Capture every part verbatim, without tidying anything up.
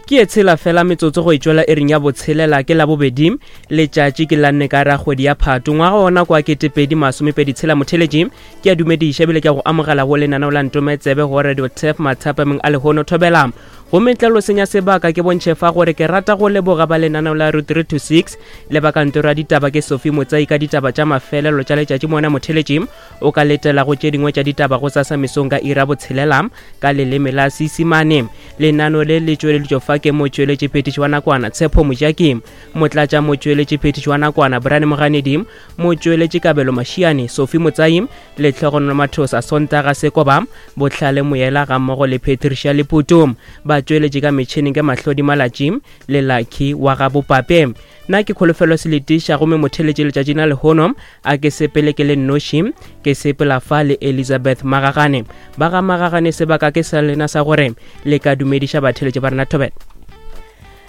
Ke e tshela fela metsotso go e tšwela ering ya botshelela ke labobedi letšatši ke la nne ka ra kgwedi ya Phato ngwaga ona kwa ketepedi masomepedi tshela. Motheletši ke a dumediša ebile ke a go amogela go lenaneo la Ntome Tsebe go Radio Tef mathapameng a lehono thobela. Gomme ntle lo senya sebaka ke bontšhe fa gore ke rata go leboga ba lenaneo la Route three to six le ba kantoro ya ditaba ke Sophie Motsai ka ditaba tša mafelelo tša letšatši. Mona motheletši o ka letela go tše dingwe tša ditaba go sasa mesong ka ira botshelela ka leleme la Seisemane. Lenano le le tšweleditšwe fa ke motšweletši phetiši wa nakwana Tshepo Mojaki, motlatša motšweletši phetiši wa nakwana Brian Moganedi, motšweletši Kabelo Mašiane, Sophie Motsai, Lehlogonolo Mathosa, Sontaga Sekoba, Bohlale Moyela gammogo le Patricia Leputu. Ba tšweletše ka metšhineng ke Mahlodi Malatši le Lucky wa ga Bopape. Nna ke Kholofelo Seletiša gomme motheletše letšatši la lehono a ke sepele ke le nnoši, ke sepela fa le Elizabeth Magagane. Ba ga Magagane sebaka ke sa lena sa gore le ka dumediša batheletši ba rena thobela.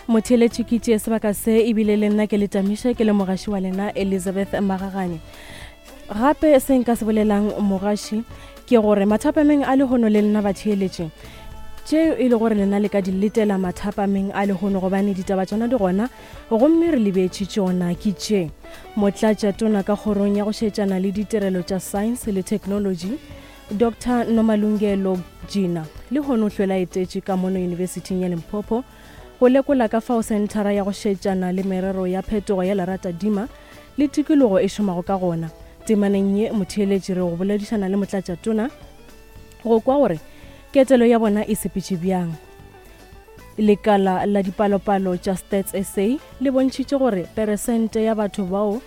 Motheletši ke tšee sebaka se ebile le nna ke le tamiša ke le mogaši wa lena Elizabeth Magagane. Gape se nka se bolelang mogaši ke gore mathapameng a lehono le lena batheeletši tšeo e le gore lena le ka di letela mathapameng a lehono gobane ditaba tšona di gona gomme re lebetše tšona ke tše. Motlatša tona ka kgorong ya go šetšana le ditirelo tša science le technology Doctor Nomalungelo Gina lehono o hlwela etetše ka mono Yunibesithing ya Limpopo go lekola ka fao senthara ya go šetšana le merero ya phetogo ya leratadima le tikologo e šomago ka gona. Temaneng ye motheeletši re go boledišana le motlatša tona go kwa gore ketelo ya bona e sepetše bjang. Lekala la dipalopalo tša Stats S A le bontšhitše gore peresente ya batho bao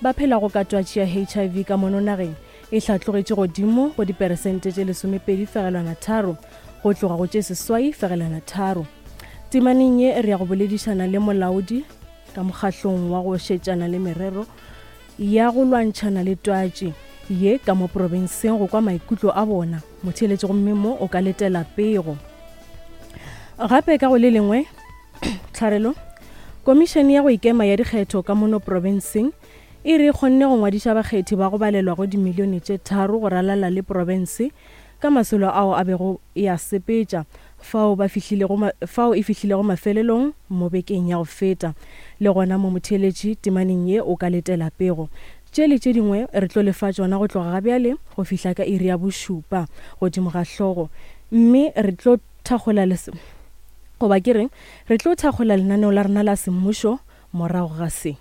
ba phelago ka twatši ya H I V ka mono nageng e hlatlogetše godimo go diperesente tše lesomepedi fegelwana tharo go tloga go tše seswai fegelwana tharo. Temaneng ye re ya go boledišana le molaodi ka mokgahlong wa go šetšana le merero ya go lwantšhana le twatši ye ka mo profenseng go kwa maikutlo a bona. Motheeletši gomme mo o ka letela pego. Gape ka go le lengwe tlharelo, komišene ya go ikema ya dikgetho ka mono profenseng e re kgonne go ngwadiša bakgethi ba go balelwa go dimilione tše tharo go ralala le profense ka masolo ao a bego ya sepetša fao ba fihlilego fao e fihlilego mafelelong mo bekeng ya go feta. Le gona mo motheeletši temaneng ye o ka letela pego. Tše le tše dingwe re tlo lefa tšona go tloga ga bjale go fihla ka iri ya bošupa godimo ga hlogo, mme re tlo thakgola goba ke re re tlo thakgola lenaneo la rena la semmušo morago ga se.